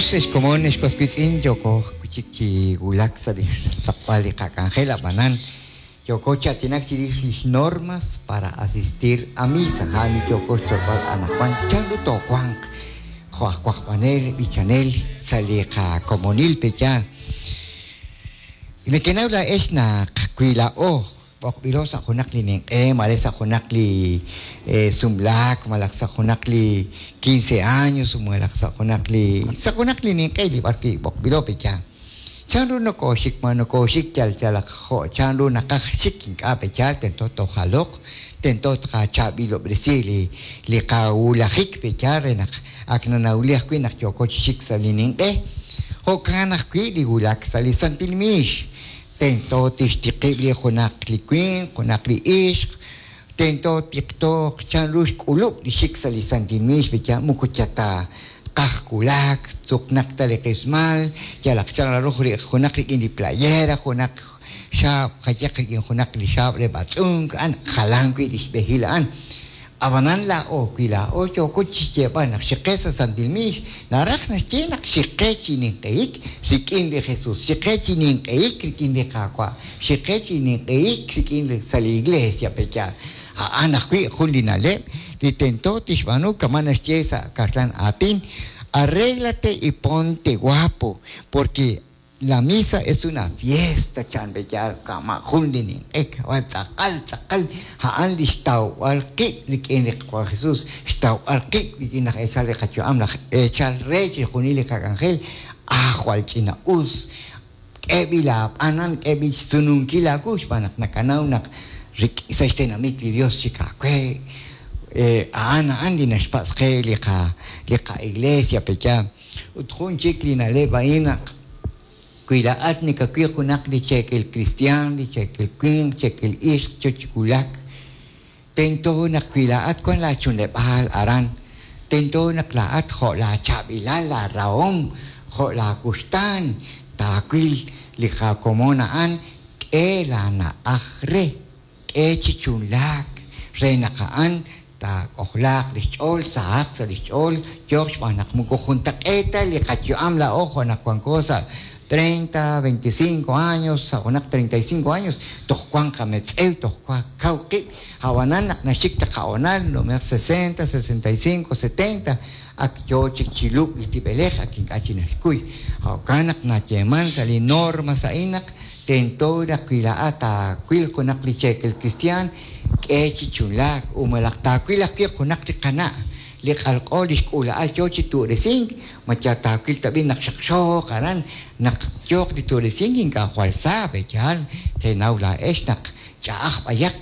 Us ex komon, ex was wiitz'in, yooko wi' chik chi wulak sa' li xraqb'al li qak'anjel, ab'anan yooko chi aatinak chirix lix normas para asistir a misa, a'an li yooko xtzolb'al anaqwan chanru toowanq jo' aj wajb'anel, b'ichanel sa' li qakomonil pe'yaal. Nekenaw laa'ex naq wi laa'o B'oqb'ilo sa' junaq li ninq'e, maare sa' junaq li sumlaak, malaj sa' junaq li quince años, malaj sa' junaq li sa' junaq li ninq'e li b'ar wi' b'oqb'ilo pe' yaal. Chan ru nokooxik? Ma nokooxik yal yalaq jo' chanru naqaj xik? Ink'a' pe' yaal, tento toojaloq, tento tqachaab'ilob'resi li li qawulajik pe' yaal re naq ak nanawli ajwi' naq yooko chi xik sa' li ninq'e. Jo'kan ajwi' li wulak sa' li santil miix. Tento tixtiqib' li junaq li winq, junaq li ixq, tento tiqtooq chanru xk'ulub' li xik sa' li santil miix li yaal moko yal ta tqaj wulak, tzuqnaq ta li qismal, yalaq chan raruj junaq rik'in li playera, junaq xaab' qayehaq rik'in junaq li xaab' re b'atz'unk, a'an jalan wi' li xb'ehil a'an. Ab'anan laa'o, wi laa'o yooko chi xyeeb'al naq xiqe sa' santil miix, naraj naxye naq xiqe chi ninq'ehik rik'in li Jesus, xiqe chi ninq'ehik rik'in li Qaawa', xiqe chi ninq'ehik rik'in sa' li iglesia, pe' yaal? A'an ajwi' jun li na'leb' li tento tixb'aanu kama' naxye sa' kaxlan aatin, Arréglate y ponte guapo, porque La misa es una fiesta, chan re yaal kama' jun li ninq'e, ab'an tz'aqal tz'aqal a'an li xtawb'al qib' rik'in li Qaawa' Jesús, xtawb'al qib' rik'in laj eechal re qayu'am, laj eechal re chixjunil li qak'anjel, ah jwal ch'ina-us, k'eeb'il aab'anan, k'eeb'il xsununkil aawu xb'aan naq nakanaw naq sa' xtenamit li Dios chik aawe, a'an a'an li naxpatz' qe li qa li qa-iglesia pe' yaal. Ut jun chik li na'leb' a'in naq wi laa'at nakawil junaq li cheekel kristiaan, li cheekel winq, cheekel ixq yo chi wulak, tento naq wi laa'at wan laa chunleb'aal aran, tento naq laa'at jo' laa chaab'ilal, laa rahom, jo' laa wuxtaan, taawil li qakomon a'an, k'e laa na'aj re. K'e chi chunlaak re naq a'an taak'ojlaaq li xch'ool, sahaq sa' li xch'ool, yooq xb'aan naq moko juntaq'eet ta li qayu'am laa'o jo' naq wanko sa' treinta, veinticinco años, sa' junaq treinta y cinco años, toj wank qametz'ew, toj kaw qib', ab'anan naq naxik li qahonal, numenaq sesenta, sesenta y cinco, setenta, ak yoo chik chi lub'k li tib'elej, ak ink'a' chik naxkuy. Jo'kan naq nayeeman sa' li normas a'in naq Tento naq wi laa'at taawil junaq li cheekel kristiaan, k'e chi chunlaak, u malaj taawil ajwi' junaq li qana' li q'alq'o li xk'uula'al yoo chi tu'resink, ma yal taawil tab'i' naq xaqxooq aran naq yooq li tu'resink ink'a' jwal sa, pe'yaal teenaw laa'ex naq ch'a'aj b'ayaq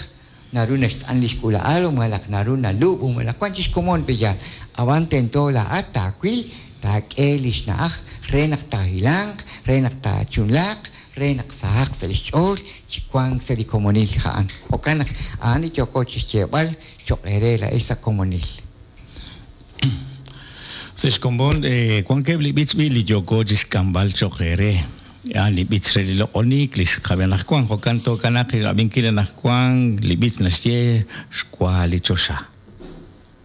naru naxt'an li xk'uula'al u malaj naru nalub' u malaj wan chik xkomon pe'yaal, ab'an tento laa'at taawil taak'e li xna'aj re naq taahilanq, re naq taachunlaaq, re naq sahaq sa' li xch'ool chi wank sa' li komonil a'an. Jo'kan naq a'an li yooko chi xyeeb'al cho'q eere laa'ex sa' komonil. Sa' xkomon wankeb' li b'ich b'i' li yooko chi xk'amb'al cho'q eere. A'an li b'ich re li loq'oniik li xqab'i anaqwan. Jo'kan tookanaaq rab'inkil anaqwan li b'ich naxye Xwa li choxa.